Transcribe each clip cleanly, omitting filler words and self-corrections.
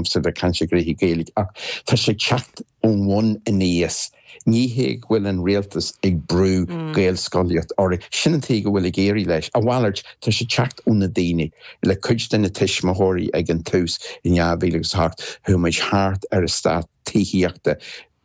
liomsa bheith ag caint i gcroíthe Gaeilge ach tá sé ag teacht ón bhun aníos. Ní hé go bhfuil an rialtas ag brú Gaelscolaíocht orainn, sin an tuige go bhfuil ag éirí leis. A mhalairt, tá sé ag teacht ó na daoine, le cuid de na tuismitheoirí ag an tús in 2008, chuaigh muid thart ar eastát tithíochta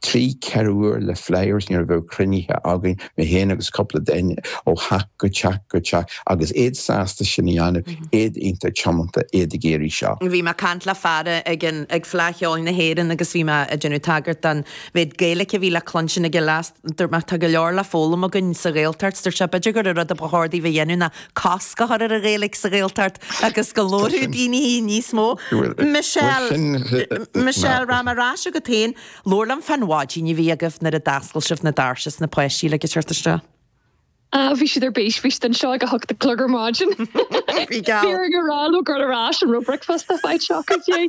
3, 4 uair le flyers nuair a bheadh cruinnithe againn, mé féin agus cúpla duine, ó theach go teach go teach agus iad sásta sin a dhéanamh, iad iontach tiomanta, iad ag iarraidh seo. Bhí mé ag caint le fear ag an, ag Fleadh Cheoil na hÉireann agus bhí mé ag déanamh tagairt don mhéid Gaeilge a bhí le cluinstin ag an fhleadh. Dúirt mé, tá go leor le foghlaim againn sa Ghaeltacht. Dúirt sé, b'fhéidir gur an rud a ba chóir daoibh a dhéanamh ná cosc a chur ar an Ghaeilge sa Ghaeltacht agus go labharfadh daoine í níos mó. Michelle, Michelle, rachaidh mé ar ais chugat féin. Labhair liom fán mhaidin a bhí agaibh nuair a d'oscail sibh na doirse is na páistí le teacht isteach. Ah, bhí siad ar bís, bhí siad anseo ag a hocht a chlog ar maidin. Bhí geall. Bhí orainn a rá leo dul ar ais an raibh bricfeasta faighte acu fiú.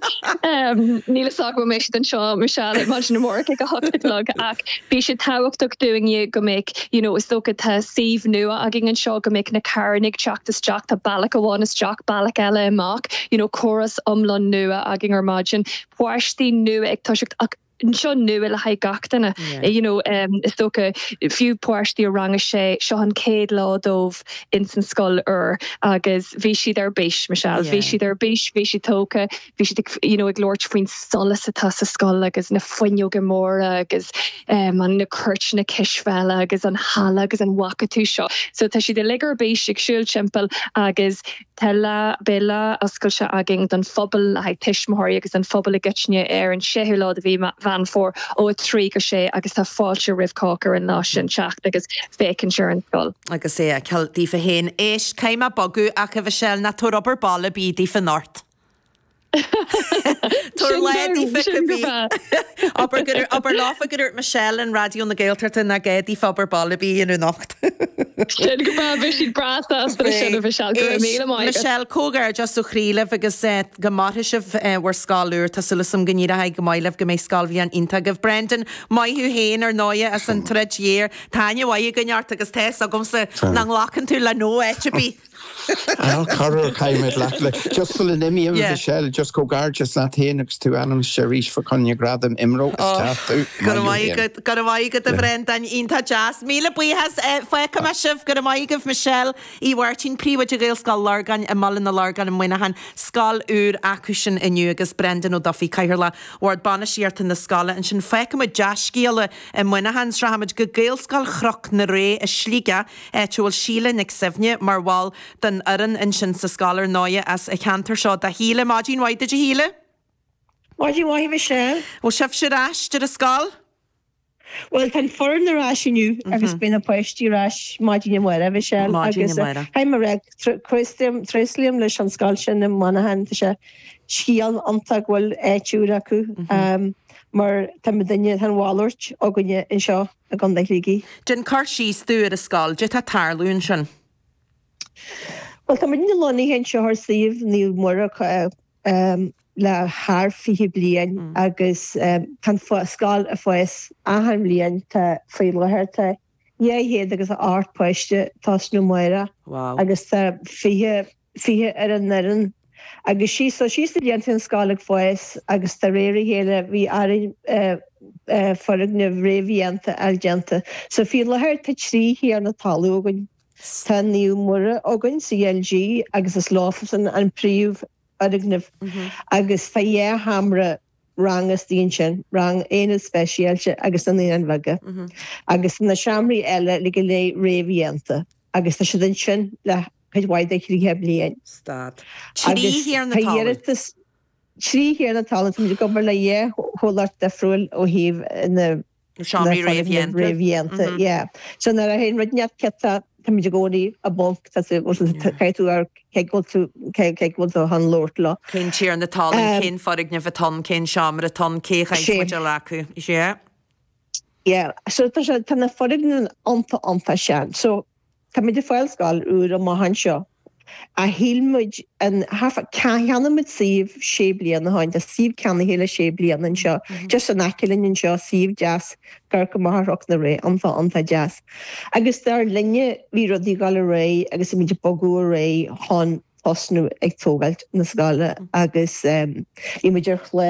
Níl fhios agam an mbeidh siad anseo, Michelle, ar maidin amárach ag a hocht a chlog ach bhí sé tábhachtach dúinne go mbeadh, you know, is dócha tá suíomh nua againn anseo go mbeadh na carranna ag teacht isteach, tá bealach amháin isteach, bealach eile amach, you know, córas iomlán nua againn ar maidin, páistí nua ag toiseacht ach seo nua le haghaidh gach duine. You know, is dócha, fiú páistí i rang a sé, seo an chéad lá dóibh ins an scoil úr agus bhí siad ar bís, Michelle. Bhí siad ar bís, bhí siad tógtha, bhí siad ag, you know, ag labhairt faoin solas atá sa scoil agus na fuinneoga móra agus um, an na cúirteanna cispheile agus an halla agus an bhfaca tú seo. So tá siad uilig ar bís ag siúl timpeall agus Tá lá, beidh lá oscailte againn don phobal le haghaidh tuismitheoirí agus don phobal i gcoitinne ar an 6ú lá de mhí Mheán Fómhair ó 3 go 6 agus tá fáilte roimh chách ar an lá sin teacht agus féachaint ar an scoil. Agus é a fheiceáil daofa féin. Éist, caithfidh mé bogadh ach a Mhichelle, ná tabhair obair baile ar bith daofa anocht. Tabhair lá daofa cibé. Abair gur, abair leofa go ndúirt Michelle in Raidió na Gaeltachta nach gá daofa obair baile ar bith a dhéanamh anocht. Sin go breá, beidh siad breá sásta leis sin a Mhichelle, go raibh míle maith agat. Michelle, comhghairdeas ó chroí libh agus go mairfidh sibh bhur scoil úr. Tá súil agam go n-éireoidh go maith libh, go mbeidh scoilbhliain iontach agaibh. Brendan, maith thú féin ar ndóighe as an troid ghéar. Tá aithne mhaith againn ort agus tá fhios agamsa nach nglacann tú le no áit ar bith. Á, corruair caithfidh mé glacadh le. Just sula n-imím, Yeah. Michelle, just comhghairdeas leat féin agus tú ainmnithe arís fá choinne Gradam IMRO, is Oh, ceart tú. go Maith raibh thú maith féin. agat, go raibh maith agat a Bhrendáin, iontach deas. Míle buíochas, fágfaidh mé sibh, go raibh maith agaibh Michelle Uí Mháirtín, Príomhoide Ghaelscoil Lorgáin i mBaile na Lorgan i Muineachán, scoil úr acusan inniu agus Brendan Ó Dufaigh, Cathaoirleach Bhord Bainistíochta na scoile ansin. Fágfaidh muid dea-scéala i Muineachán, 's rachaimid go Gaelscoil Chnoc na Ré i Sligeach, áit a bhfuil Síle Nic Suibhne mar bhall den fhoireann ansin sa scoil, ar ndóighe, as an cheantar seo do Shíle. Maidin mhaith duit a Shíle. Maidin mhaith a Mhichelle. Bhfuil sibhse ar ais ar an scoil? Bhuel, tá an foireann ar ais inniu agus beidh na páistí ar ais maidin amárach, a Mhichelle. Maidin amárach. Agus caithfidh mé a rá, tréaslaím leis an scoil sin i Muineachán, tá sé scéal iontach go bhfuil áit úr acu mar tá muidinne, tá an mhalairt againne anseo. i gContae Shligigh. Déan cur síos dúinn ar an scoil, cad é atá ag tarlú ansin. Bhuel, tá muidne lonnaithe anseo ar suíomh Naomh Muire le thar 20 bliain agus tá an scoil ag fás achan bhliain. Tá faoi láthair tá 200 agus 8 páiste ag tosnú amárach agus tá 20 20 ar an fhoireann agus síos so síos na blianta an scoil ag fás agus de réir a chéile bhí orainn foirgnimh réamhdhéanta a fháil déanta. So faoi láthair tá 3 thiarna talún againn. Tá Naomh Muire againn CLG agus is leofasan an príomh fhoirgneamh agus tá dhá sheomra ranga istigh ansin, rang aonad speisialta agus na naíonáin bheaga agus na seomraí eile uilig go léir réamhdhéanta agus tá siad ansin le cuid mhaith de thríocha bliain. Stad. Trí thiarna Agus tá talún. iarratas trí thiarna talún, táimid ag obair le dhá chomhlacht difriúil ó thaobh na Seomraí réamhdhéanta. Réamhdhéanta, yeah. So nuair a théann rud inteacht ciotach, táimid i gcónaí i bponc, tá tú, caithfidh tú ar cé go bhfuil tú, cé go bhfuil tú chun labhairt leo. Cén tiarna talún, cén foirgneamh atá ann, cén seomra atá ann, cé a chaithfeas muid a ghlacadh. Yeah. Yeah. So tá sé, tá na foirgnimh iontach, iontach sean. So Táimid ag fáil scoil úr amach anseo. Ach shíl muid an, cheannaigh muid suíomh sé bliana ó shin, tá suíomh ceannaithe le sé bliana anseo, just in aice linn anseo, suíomh deas, ag amharc amach ar Chnoc na Ré, iontach, iontach deas. Agus dar linne bhí rudaí ag dul ar aghaidh agus bhí muid ag bogadh ar aghaidh chun tosnú ag tógáilt na scoile agus bhí muid ar chlár.